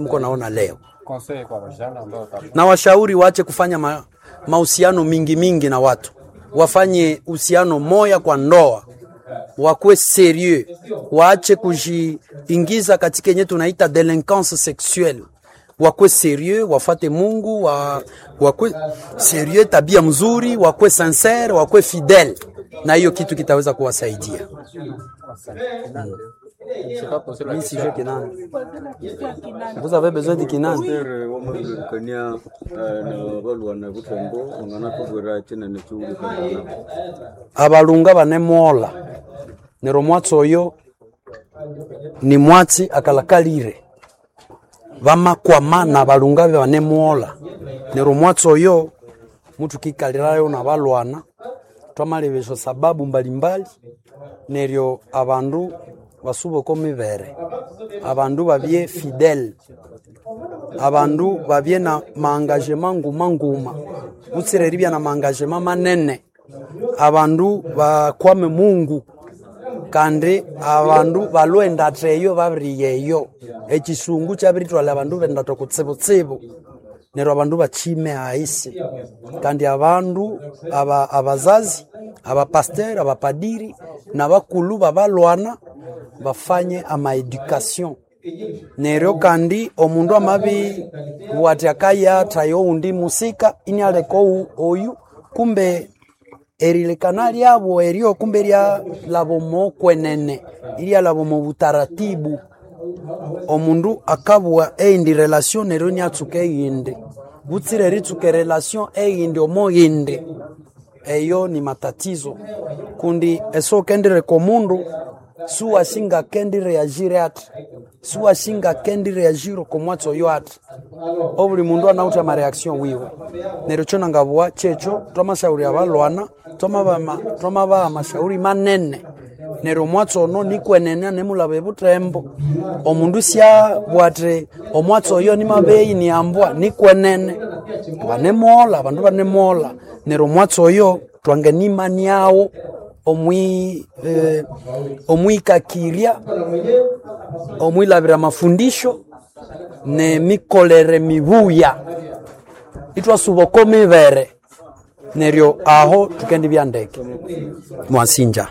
mko naona leo. Conseil kwa vijana ambao Na washauri waache kufanya mahusiano mingi mingi na watu, wafanye uhusiano moya kwa ndoa, wakuwe serieux, waache kujiingiza katika yenye tunaita delinquance sexuelle. Wakuwe serieux, wafate Mungu, wakuwe serieux, tabia mzuri, wakuwe sincere, wakuwe fidele, na hiyo kitu kitaweza kuwasaidia. Mimi sijui Kinande. Vous avez besoin de Kinande? Pasteur wamabiririkania na balwana butembo wanganatubwira chinene chiwulikana. Abalunga banemwola nero mwatsi oyo ni mwatsi akalakalire, bamakwama na balunga be banemwola nero mwatsi oyo mutukikalirayo na balwana twamalebesha sababu mbalimbali, neryo abandu basubeko mibere, abandu babye fidele, abandu babye na maangagema nguma nguma, butsire eribya na maangagema manene, abandu bakwame Mungu kandi abandu balwe endatha eyo babiriya eyo ekisungu kyabiritwalha abandu bendatha kutsibutsibu, neryo abandu bakime ahisi, kandi abandu abazazi, abapasteur, abapadiri nabakulhu babalwana bafanye amaeducation. Neryo kandi omundu amabibugha athi akayathaya owundi musika inialeka oyu, kumbe erilekana lyabo eryo kumbe iryalhaba omo kwenene, iryalhaba omo butaratibu. Omundu akabugha eyindi relation neryo iniatsuka eyindi, butsire eritsuka erelation eyindi omo yindi, eyo ni matatizo kundi esiwukendireka omundu siwasi ngakendireagire athi, siwasi ngakendireagire oko mwatsi oyo athi. Obuli mundu anawithe amareaction wiwe. Neryo ekyo nangabugha kyekyo, twamasyaghulya abalwana, twamabaha amashauri manene, neryo omwatsi ono nikwenene anemulhaba ebuthembo. Omundu isyabugha athi omwatsi oyo nimabeyi niambwa, nikwenene. Banemwolha, abandu banemwolha, neryo omwatsi oyo twanganimaniagho omwikakirya, omwilhabira amafundisho nemikolere mibuya, ithwasuba oko mibere, neryo aho thukendibya ndeke. Mwasinja.